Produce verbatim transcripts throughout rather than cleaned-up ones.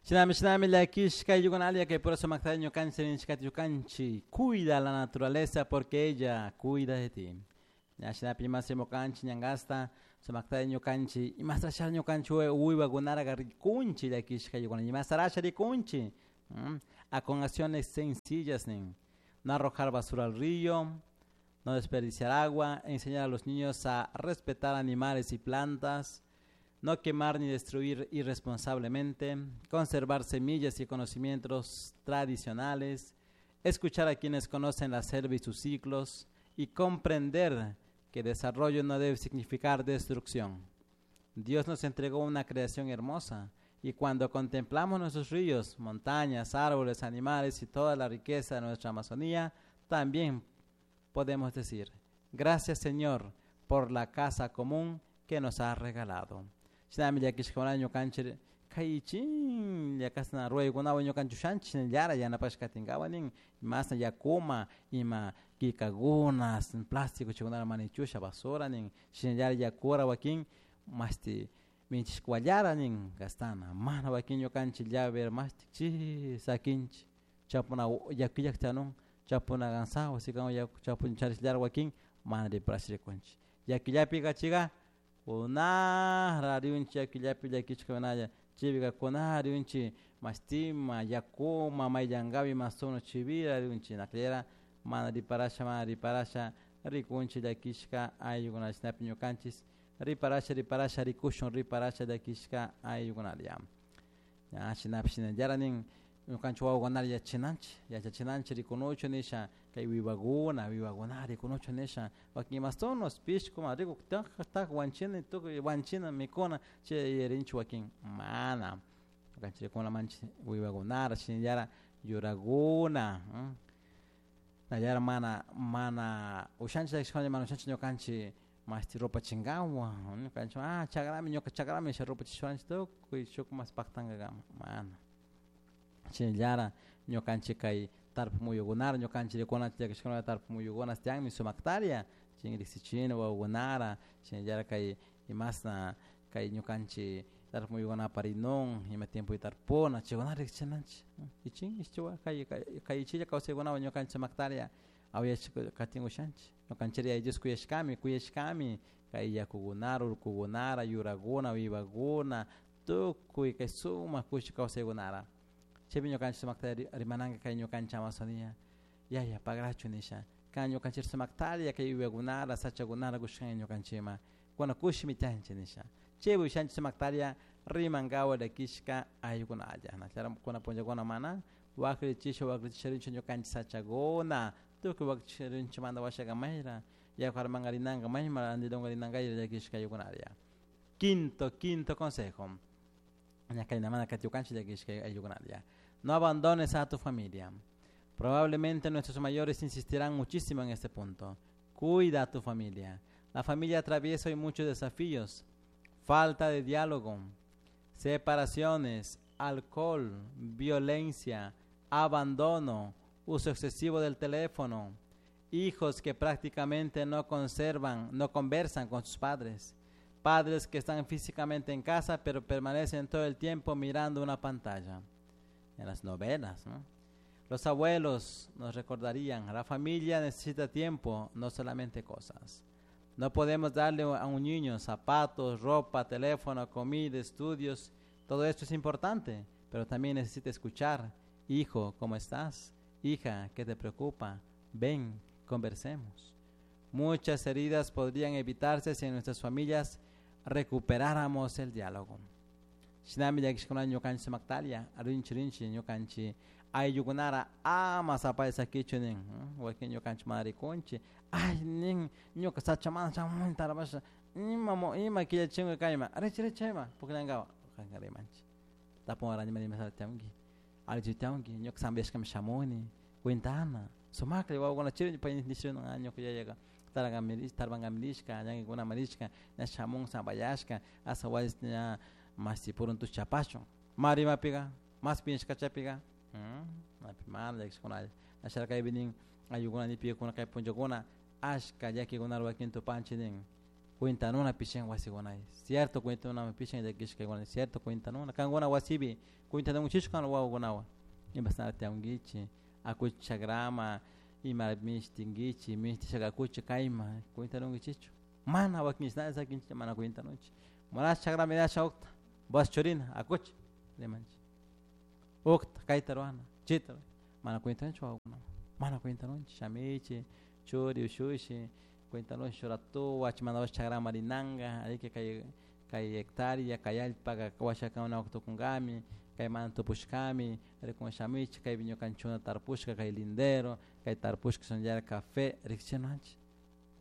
Shinami shinami llakishka ayllukunalla kay pura sumakta ñukanchik rinchikata ñukanchik cuida la naturaleza porque ella cuida de ti. Ña shinapi imasi mukanchik ñankasta sumakta ñukanchik imastasha ñukanchik wiwakunaraqa rikunchik llakishka ayllukuna imastarasha rikunchik a con acciones sencillas nin no arrojar basura al río, no desperdiciar agua, enseñar a los niños a respetar animales y plantas, no quemar ni destruir irresponsablemente, conservar semillas y conocimientos tradicionales, escuchar a quienes conocen la selva y sus ciclos y comprender que desarrollo no debe significar destrucción. Dios nos entregó una creación hermosa y cuando contemplamos nuestros ríos, montañas, árboles, animales y toda la riqueza de nuestra Amazonía, también podemos decir, gracias Señor por la casa común que nos ha regalado. Shinami llakishkakuna ñukanchik kaychin llakasna ruraykunawan ñukanchik ushanchik shinallara yanapashka katinkawan nin imasna yakuma ima killkakuna plástico chaykunata mana ichusha basura nin shinallara yakura wakin mashti minchishkawallara nin gastana mana wakin ñukanchik llave mashti chi sakinchik chapuna yaku illak tiyanun chapuna gansawa sikan yaku chapun charishllara wakin mana riparash rikunchik yakullapi kachiga kunara riunchik yakullapi llakishkakunalla chaypika kunara riunchik mashtima yakuma mayllankapi masuno chivira riunchik naklera mana riparasha mana riparasha rikunchik llakishka ayllukunalla shinapi ñukanchik riparasha riparasha rikushun riparasha llakishka ayllukunalla ña shinapish shinallara nin ñukanchik wawakunata yachachinanchik yachachinanchik rikunuchu nisha kay wiwakuna wiwakuna rikunuchu nisha wakin imastunos pishku ma rikuk tak tak wanchina tukuy wanchina mikuna chay yuyarinchik wakin mana ñukanchik rikuna manchik wiwakunara shinallara yurakuna nallara mana mana ushanchik mana ushanchik ñukanchik mashti rupachinkawan ñukanchik ah chakrami ñuka chakrami nisha rupachishuanchik tukuy shuk mas paktankakama mana shinallara ñukanchik kay tarpuk muyukunara ñukanchik rikunachik llakishkuna tarpuk muyukuna tiyanmi sumaktaria chin riksichina wawakunara shinallara kay imasna kay ñukanchik tarpuk muyukuna aparinun ima tiempopi tarpuna chaykunata riksichinanchik ichin ichiwa kay kay ichilla kawsaykunawan ñukanchik sumaktaria awyashka katin ushanchik ñukanchik Yaya Dios kuyashkami kuyashkami kay yakukunara urkukunara yurakuna wiwakuna tukuy kay sumak kushi kawsaykunara chaypi ñukanchik sumakta rimananka kay ñukanchik Amazonía yaya pagrachu nisha kan ñukanchik sumaktaria kay wiwakunara sachakunara kushkan ñukanchikma kuna kushimi tiyanchik nisha chaypi ushanchik sumaktaria rimankawa llakishka ayllukunalla nachara kuna punllakuna mana waklichisha waklichisha rinchik ñukanchik sachakuna tukuy waklichisha rinchik manda washaka mayra yaku armanka rinanka mayma andilunka rinanka llakishka ayllukunalla. Quinto, quinto consejo. Ñakaynamana katiukanchik llakishka ayllukunalla. No abandones a tu familia. Probablemente nuestros mayores insistirán muchísimo en este punto. Cuida a tu familia. La familia atraviesa hoy muchos desafíos. Falta de diálogo, separaciones, alcohol, violencia, abandono, uso excesivo del teléfono, hijos que prácticamente no conservan, no conversan con sus padres, padres que están físicamente en casa pero permanecen todo el tiempo mirando una pantalla. En las novelas, ¿no? Los abuelos nos recordarían, la familia necesita tiempo, no solamente cosas. No podemos darle a un niño zapatos, ropa, teléfono, comida, estudios. Todo esto es importante, pero también necesita escuchar. Hijo, ¿cómo estás? Hija, ¿qué te preocupa? Ven, conversemos. Muchas heridas podrían evitarse si en nuestras familias recuperáramos el diálogo. Shinami llakishkuna ñukanchik sumaktaria, rinchi rinchi ñukanchik ayllukunara ama sapay sakichu nin, wakin ñukanchik mana rikunchik, ay nin ñuka sachamanta chamuni tarapasha ima ima killachinka kayma, richi richi chayma pukllankawa kanka rimanchik. Tapunwarani ima imasata tiyanki, allichu tiyanki, ñuka sambiashkami shamuni, cuentana, sumaklla wawakuna chiri pay nishun ah ñuka yayaka tarpankami rishka, ñankikunama rishka, ña shamun sambayashka, hasta wasis ña mashti puruntush chapashun, ma rimapika, mas piñashkachapika, mana llakishkunalla, asharka kaypi nin ayllukuna nipikuna kay punllakuna ashka llakikuna wakin tupanchik nin Cuentanuna pishin wasikunay cierto cuentanuna pishin llakishkaykuna cierto cuentanuna kankuna wasipi cuentanunchichu kan wawakunawan imashnara tiyankichik akuchi chakrama ima mishtinkichik mishtishaka akuchi kayma cuentanunkichikchu mana wakin sakinchik mana cuentanunchik manash chakrama rinasha ukta bas churina akuchi rimanchik ukta kayta ruwana chayta mana cuentanunchik wawakunawan mana cuentanunchik shamichik churi ushushi cuentanunchik shuratuwa chaymantapash chakrama rinanka ariki kay kay hectárea kay allpaka washakuna tukunkami kaymanta tupushkami rikun shamichik kaypi ñukanchikuna tarpushka kay lindero kay tarpushka shinallara café riksichinuanchik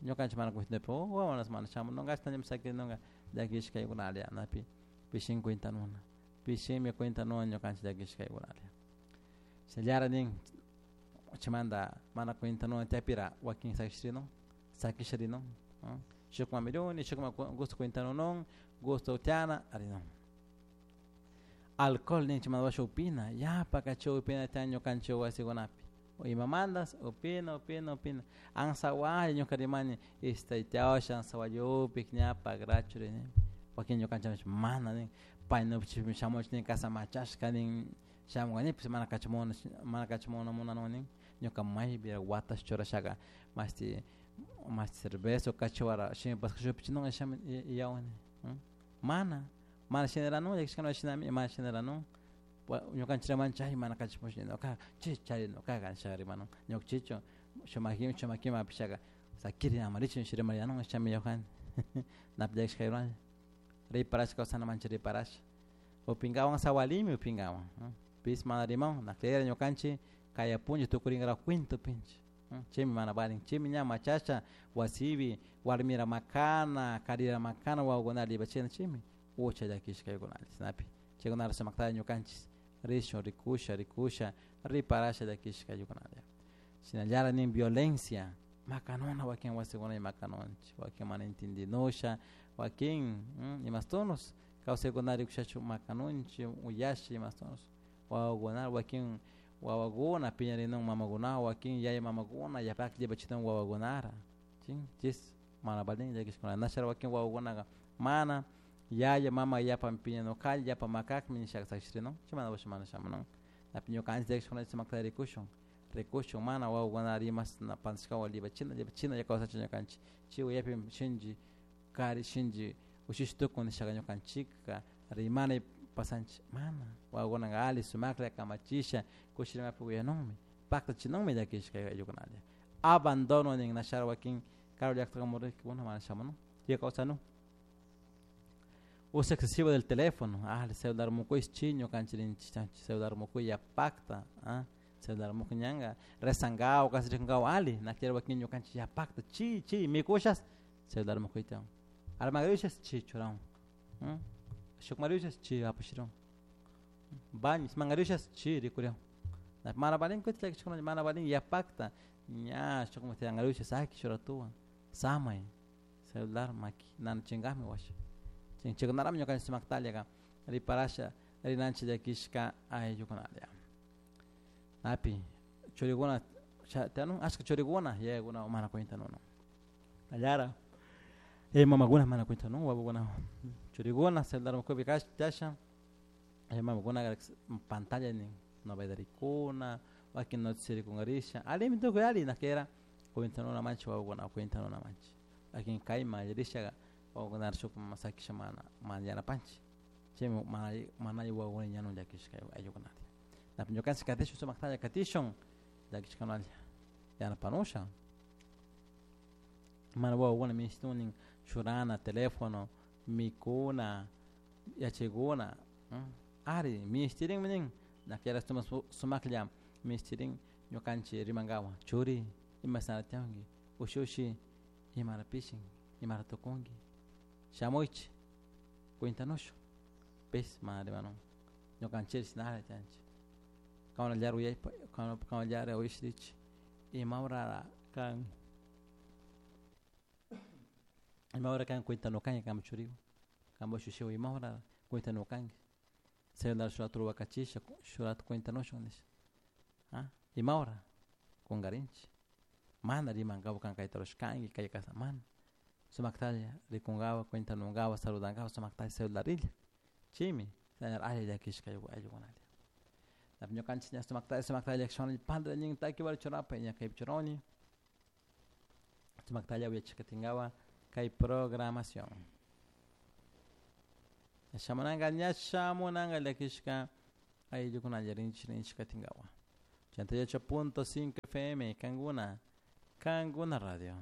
ñukanchik mana cuentanapi oh wawanas mana shamununka ashta sakirinunka llakishkaykunalla napi pishin cuentanuna pishinmi cuentanuna ñukanchik llakishkaykunalla shinallara nin chaymanta mana cuentanuna tiyapira wakin sakishirinun sakisharinun shukman miruni shukman gusto cuentanunun gusto tiana arinun alcohol nin chaymanta upina yapa chay upina tiyan ñukanchik wasikunapi imamantas upina upina upina ansawalla ñuka rimani istaytiawasha ansawalla upik ña pagrachu rini wakin ñukanchik mana nin paynupish shamuch nin casa machashka nin shamunkanipis mana kachamuna mana kachamuna munanun nin ñuka maypi watash churashaka mashti mashti cerveza o kachiwara shimipash shupichinun shami yawani mana mana shinaranun llakishkana shinami mana shinaranun ñukanchik rimanchik chay mana kachamush ñuka chay chari ñukaka nisha rimanun ñukanchikchu shumakimi shumakimi apishaka sakiri amarichu nisha rimarianun shami yawjani napi llakishkaywan riparasha kawsanamanchik riparasha upinkawan sawalimi upinkawan pis mana riman nakllera ñukanchik kaya punlla tukurinkarak cuento upinchik chaymi mana valin chaymi ña machasha wasipi warmira makana karira makana wawakunata libachina chaymi ucha llakishkaykunalla chashnapi chaykunata sumaktalla ñukanchik rishun rikusha rikusha riparasha llakishkaykunalla shinallara nin violencia makanuna wakin wasikuna makanunchik wakin mana entendinusha wakin imastunos kawsaykuna rikushachu makanunchik uyasha imastunos wawakuna wakin wawakuna piñarinun mamakunawan wakin yaya mamakuna yapaklla llipachitun wawakunara chin chis mana valin llakishkuna nashara wakin wawakunaka mana yaya mama yapa piñanukalla yapa makakmi nishaka sakishirinun chaymantapash mana shamunun napi ñukanchik llakishkuna sumakta rikushun rikushun mana wawakuna rimas pantashkawan llipachina llipachina kawsachun ñukanchik chay yapi shinchi kari shinchi ushish tukun nishaka ñukanchikka rimana pasanchik mana wawakunaka alli sumaklla kamachisha kushirimapi uyanunmi paktachinunmi llakishka ayllukunalla abandono nin nashara wakin karu llaktakunamun rikkuna mana shamunun chay kawsanun uso excesivo del teléfono ah el celular mukuy chi ñukanchik rinchik celular mukuy yapakta ah celular mukuy ñanka rezankawa kasirikunkawa alli nakllera wakin ñukanchik yapakta chi chi mikushas celular mukuy tiyan armagrishas chi churan shukmarishas chi apashiran baños mangarishas chi rikurian mana valin kutin llakishkuna mana valin yapakta ña shukman tiyangarishas saki shuratuwan samay celular maki nanachinkami washa chaykunarami ñukanchik sumaktallaka riparasha rinanchik llakishka ayllukunalla napi churikuna tiyanun ashka churikuna yayakuna mana cuentanuna allara yaya mamakuna mana cuentanun wawakuna churikuna celular mukupi kash tiyasha yaya mamakuna pantalla nin novela rikuna wakin noticias rikunkarisha allimi tukuy alli nakera cuentanuna manchik wawakuna cuentanuna manchik wakin kayman allarishaka wawakunata shuk sakisha mana mana yanapanchik chaymi mana mana alli wawakuna ñanun llakishka ayllukunata napi ñukanchik katishun sumaktalla katishun llakishkanalla yanapanusha mana wawakuna minishtunin churana teléfono mikuna yachaykuna ari minishtirinmi nin nakllera sumaklla minishtirin ñukanchik rimankawan churi imashnara tiyanki ushushi imara pishin imara tukunki shamuychik cuentanushun pis mana rimanun ñukanchik shinala tiyanchik kankunallara uyashpa kankunallara uyashrichik imahora kan imahora kan cuentanukanki kanpak churiwan kanpak ushushiwan imahora cuentanukanki celular shuk rato wakachisha shuk rato cuentanushun nisha ah imahora kunkarinchik mana rimankapak kan kayta rurashkanki kay kashna mana Sumaktalla rikunkawa cuentanunkawa saludankawa sumaktalla celularilla chaymi alli llakishka ayllukunalla ñukanchik ña sumaktalla sumaktalla llakishwan padre nin taki churapay ña kaypi churani sumaktalla uyachikatinkawa kay programación shamunanka ña shamunanka llakishka ayllukunalla rinchik rinchik katinkawa ochenta y ocho punto cinco F M Kanguna Kanguna Radio.